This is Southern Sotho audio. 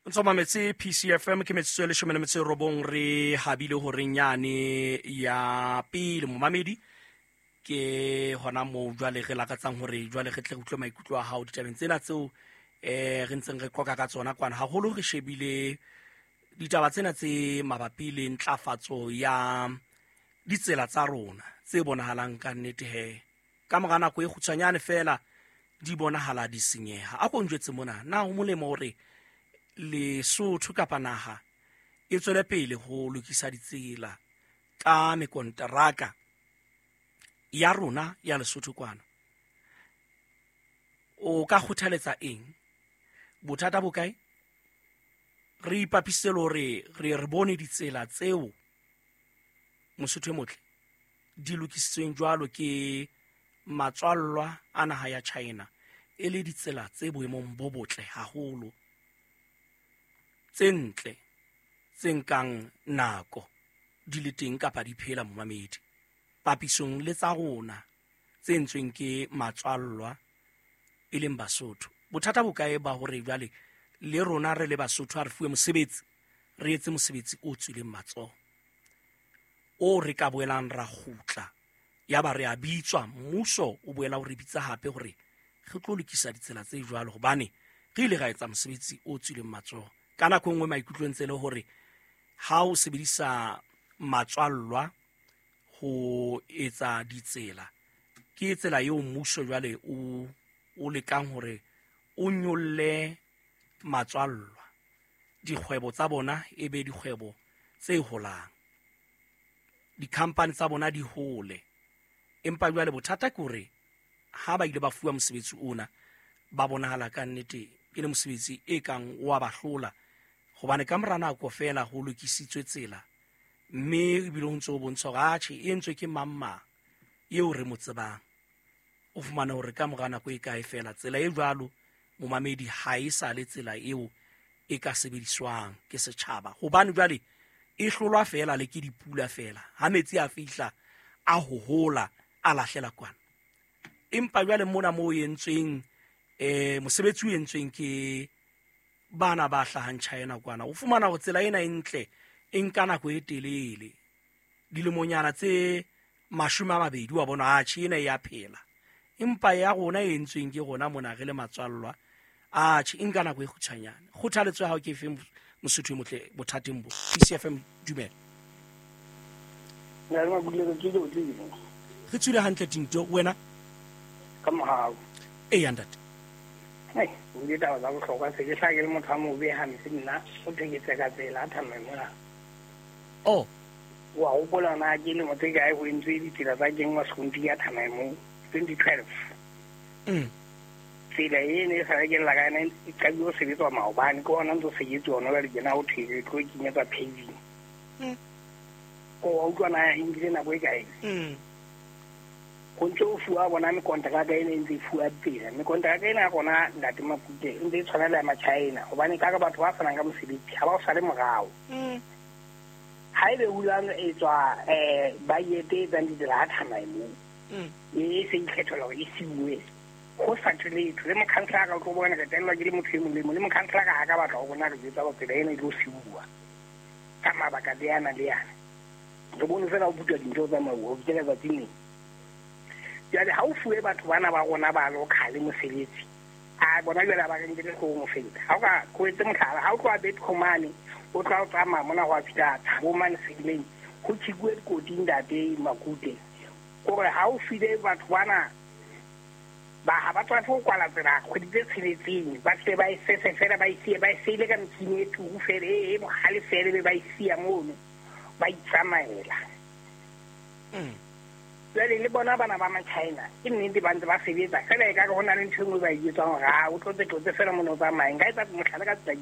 Ntse mametse PCFM, ke metsotso e 19 re habile horeng yane ya pele. Momamedi, ke hona moo jwale re lakatsang hore jwale re tle re utlwe maikutlo a hao ditabeng tsena tseo re ntseng re qoka ka tsona kwana. Haholo re shebile ditaba tsena tse mabapi le ntlafatso ya ditsela tsa rona tse bonahalang ka nnete he ka mora nako e kgutshwanyane fela di bonahala di senyeha. A ko njwetse mona, na ho molemo hore Lesotho kapa naha e tswele pele ho lokisa ditsela ka mekonteraka ya rona ya Lesotho kwana? O ka kgothaletsa eng? Bothata bo kae? Re ipapisitse le hore re bone ditsela tseo, Mosotho e motle, di lokisitsweng jwalo ke matswallwa a naha ya China e le ditsela tse boemong bo botle haholo, tse ntle, tse nkang nako di le teng kapa di phela, momamedi, papisong le tsa rona tse entsweng ke matswallwa e leng Basotho. Bothata bo kae ba hore jwale le rona re le Basotho ha re fuwe mosebetsi, re etse mosebetsi o tswileng matsoho, o re ka boelang ra kgutla ya ba re a bitswa, mmuso o boela o re bitsa hape hore re tlo lokisa ditsela tse jwalo hobane re ile ra etsa mosebetsi o tswileng matsoho? Ka nako e nngwe maikutlo ntse le hore ha o sebedisa matswallwa ho etsa ditsela, ke tsela eo mmuso jwale o lekang hore o nyolle matswallwa, dikgwebo tsa bona e be dikgwebo tse holang, dikhampani tsa bona di hole. Empa jwale bothata ke hore ha ba ile ba fuwa mosebetsi ona, ba bonahala ka nnete e le mosebetsi e kang wa ba hlola, hobane ka mora nako feela ho lokisitswe tsela, mme ebile ho ntse ho bontsha hore atjhe, e entswe ke mang mang eo re mo tsebang. O fumane hore ka mora nako e kae feela tsela e jwalo, momamedi, ha e sa le tsela eo e ka sebediswang ke setjhaba, hobane jwale e hlolwa feela le ke dipula feela. Ha metsi a fihla a hohola, a lahlela kwana. Empa jwale mona moo e entsweng, mosebetsi o entsweng ke bana ba hlahang China kwana, o fumana hore tsela ena e ntle e nka nako e telele, dilemonyana tse 20, wa bona atjhe, ena e ya phela. Empa ya rona e entsweng ke rona mona re le matswallwa, atjhe, e nka nako e kgutshwanyane. Kgothaletso ya hao ke efe, Mosotho e motle, bothateng bo? PCFM, dumela. Re tswile hantle, Tinto, wena? Ka mohau. Eya, ntate. Ai, o ile taba tsa bohlokwa. Se ke hlaha ke le motho a mobe hampe nna, o thwe ke tseka tsela a thamae mona. Oh. Wa hopola na ke lemo tse kae ho entswe ditsela tsa kenngwa sekontiri ya thamae moo? 2012. Tsela e ne e sa ke lla ka yona e qadile ho sebetswa maobane, ke hona ntse o sebetse hona jwale tjena, ho thwe re tlo kenyetswa paving. O wa utlwa na e nkile nako e kae? Ho ntse ho fuwa bona mekonteraka ena e ntse e fuwa tsela. Mekonteraka ena ya rona, ntate Makute, e ntse e tshwana le ya Machina, hobane ka re batho ba fanang ka mosebetsi ha ba o sale morao. Ha ebe hulang e tswa budget e etsang ditsela ha thamae moo, e se ikgethola hore e siuwe ho sa thwe letho. Le mokhanselara o tlo bona re tellwa ke le motho e mong le mong, le mokhanselara ha ka batla ho rona re jwetsa hore tsela ena e tlo siuwa ka mabaka le ana le ana. Re bone fela ho butwa dintho tsa tsamauwa ho fihlela tsatsing lena. Jwale ha o fuwe batho bana ba rona ba local mosebetsi, a bona jwale ha ba re nkele hloohong ho feta. Ha o ka ko etse mohlala, ha o tloha Betco mane, o tloha o tsamaya mona ho a fihla Thabo mane Sedimeng, ho tjhekuwe dikoti, ntate Makute. Kore ha o file batho bana ba ha ba tswafe ho kwala tsela kgwedi tse 6, ba tle ba e sese fela, ba e siye, ba e seile ka metjhini e turu fela, e bohale fela, ebe ba e siya mono, ba itsamaela. Jwale le bona bana ba Machina, ke nnete ba ntse ba sebetsa fela, ekare ho na le ntho e nngwe ba e etsang hore a o tlotse tlotse fela mona o tsamaye. Nka etsa mohlala ka tsela.